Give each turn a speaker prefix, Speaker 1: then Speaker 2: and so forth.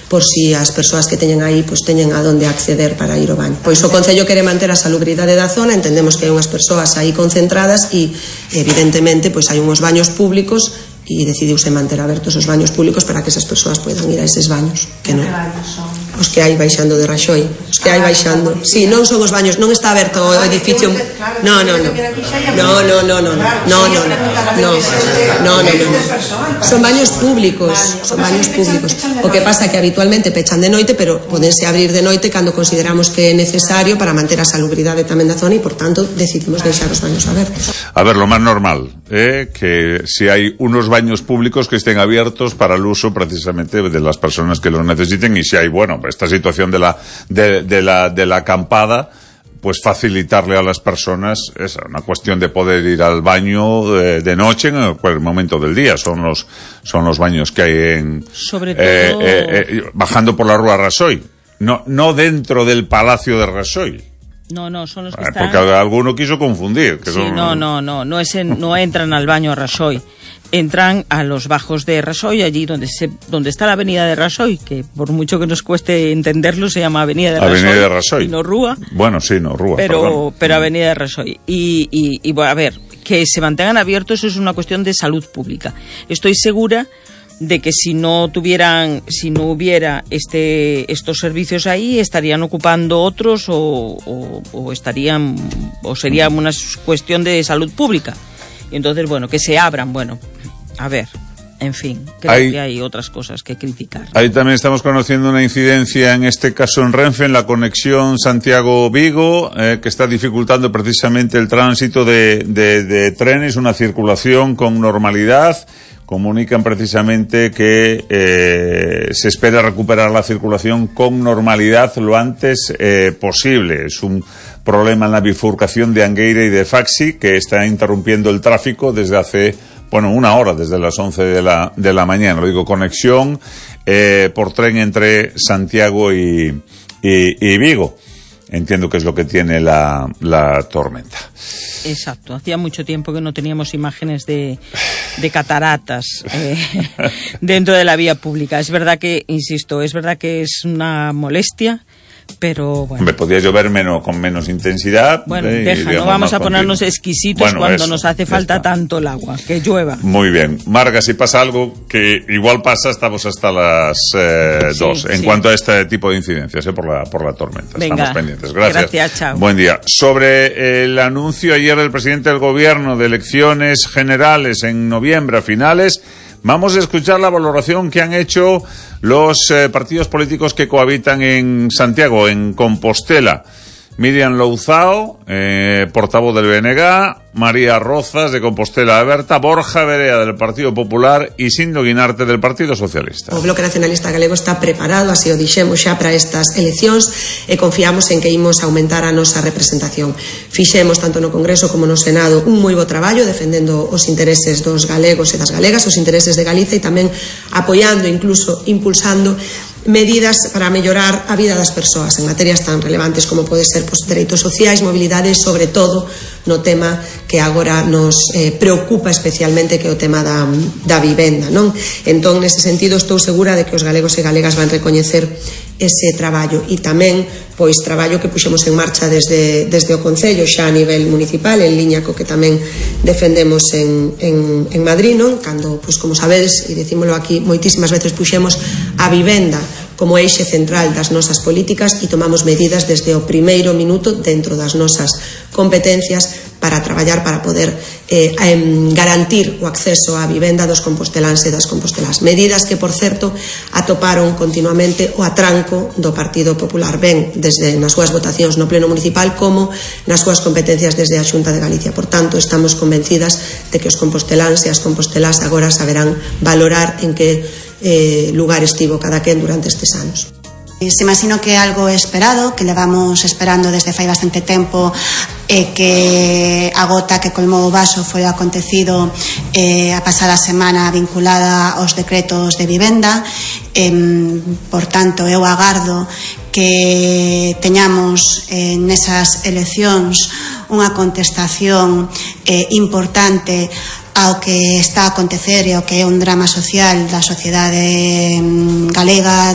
Speaker 1: por si as persoas que teñen aí pois teñen a donde acceder para ir ao baño. Pois o Concello quere manter a salubridade da zona, entendemos que hai unhas persoas aí concentradas e evidentemente pois hai unhos baños públicos e decidiuse manter abertos os baños públicos para que esas persoas poidan ir a eses baños. Que non? Os que hai baixando de Raxoi, os que hai baixando. Si, non son os baños, non está aberto o edificio. No. Son baños públicos, O que pasa é que habitualmente pechan de noite, pero podense abrir de noite cando consideramos que é necesario para manter a salubridade tamén da zona e, por tanto, decidimos deixar os baños abertos.
Speaker 2: A ver, lo más normal que si hay unos baños públicos que estén abiertos para el uso precisamente de las personas que los necesiten, y si hay, bueno, esta situación de la acampada, pues facilitarle a las personas una cuestión de poder ir al baño de noche en cualquier momento del día. Son los baños que hay en
Speaker 3: sobre todo
Speaker 2: bajando por la Rúa Raxoi, no dentro del Palacio de Raxoi.
Speaker 3: No, son los que están...
Speaker 2: Porque alguno quiso confundir. Que
Speaker 3: sí, son... no entran al baño a Raxoi. Entran a los bajos de Raxoi, allí donde está la avenida de Raxoi, que por mucho que nos cueste entenderlo, se llama avenida de Raxoi. Y no Rúa.
Speaker 2: Bueno, sí, no Rúa.
Speaker 3: Pero avenida de Raxoi. Y bueno, a ver, que se mantengan abiertos es una cuestión de salud pública. Estoy segura de que si no hubiera estos servicios ahí, estarían ocupando otros o sería una cuestión de salud pública. Y entonces, bueno, que se abran, bueno, a ver, en fin, creo que hay otras cosas que criticar.
Speaker 2: Ahí también estamos conociendo una incidencia, en este caso en Renfe, en la conexión Santiago-Vigo, que está dificultando precisamente el tránsito de trenes, una circulación con normalidad. Comunican precisamente que se espera recuperar la circulación con normalidad lo antes posible. Es un problema en la bifurcación de Angueira y de Faxi que está interrumpiendo el tráfico desde hace, una hora, desde las 11 de la mañana. Lo digo, conexión por tren entre Santiago y Vigo. Entiendo que es lo que tiene la tormenta.
Speaker 3: Exacto, hacía mucho tiempo que no teníamos imágenes de cataratas dentro de la vía pública. Es verdad que, insisto, es una molestia, pero bueno.
Speaker 2: Me podía llover con menos intensidad.
Speaker 3: Bueno, no vamos a ponernos exquisitos cuando nos hace falta tanto el agua, que llueva.
Speaker 2: Muy bien. Marga, si pasa algo, que igual pasa, estamos hasta las 2. En cuanto a este tipo de incidencias, por la tormenta.
Speaker 3: Venga,
Speaker 2: estamos pendientes. Gracias,
Speaker 3: chao.
Speaker 2: Buen día. Sobre el anuncio ayer del presidente del gobierno de elecciones generales en noviembre a finales, vamos a escuchar la valoración que han hecho los partidos políticos que cohabitan en Santiago, en Compostela. Miriam Louzao, portavoz del BNG, María Rozas de Compostela Aberta, Borja Verea del Partido Popular e Sindo Guinarte del Partido Socialista.
Speaker 1: O Bloque Nacionalista Galego está preparado, así o dixemos xa, para estas eleccións e confiamos en que imos aumentar a nosa representación. Fixemos tanto no Congreso como no Senado un moi bo traballo defendendo os intereses dos galegos e das galegas, os intereses de Galiza e tamén apoiando, incluso impulsando medidas para mellorar a vida das persoas en materias tan relevantes como pode ser dereitos sociais, mobilidade e, sobre todo, no tema que agora nos preocupa especialmente, que é o tema da vivenda, non? Entón, nese sentido, estou segura de que os galegos e galegas van recoñecer ese traballo e tamén traballo que puxemos en marcha desde o Concello xa a nivel municipal, en liña co que tamén defendemos en Madrid, non? Cando, como sabedes, e dicímolo aquí moitísimas veces, puxemos a vivenda como eixe central das nosas políticas e tomamos medidas desde o primeiro minuto dentro das nosas competencias para traballar para poder garantir o acceso á vivenda dos composteláns e das compostelás. Medidas que, por certo, atoparon continuamente o atranco do Partido Popular, ben desde nas súas votacións no Pleno Municipal como nas súas competencias desde a Xunta de Galicia. Por tanto, estamos convencidas de que os composteláns e as compostelás agora saberán valorar en que lugar estivo cada quen durante estes anos.
Speaker 4: Se imagino que é algo esperado, que levamos esperando desde fai bastante tempo, e que a gota que colmou o vaso foi o acontecido a pasada semana vinculada aos decretos de vivenda. Por tanto, eu agardo que teñamos nesas eleccións unha contestación importante ao que está a acontecer e ao que é un drama social da sociedade galega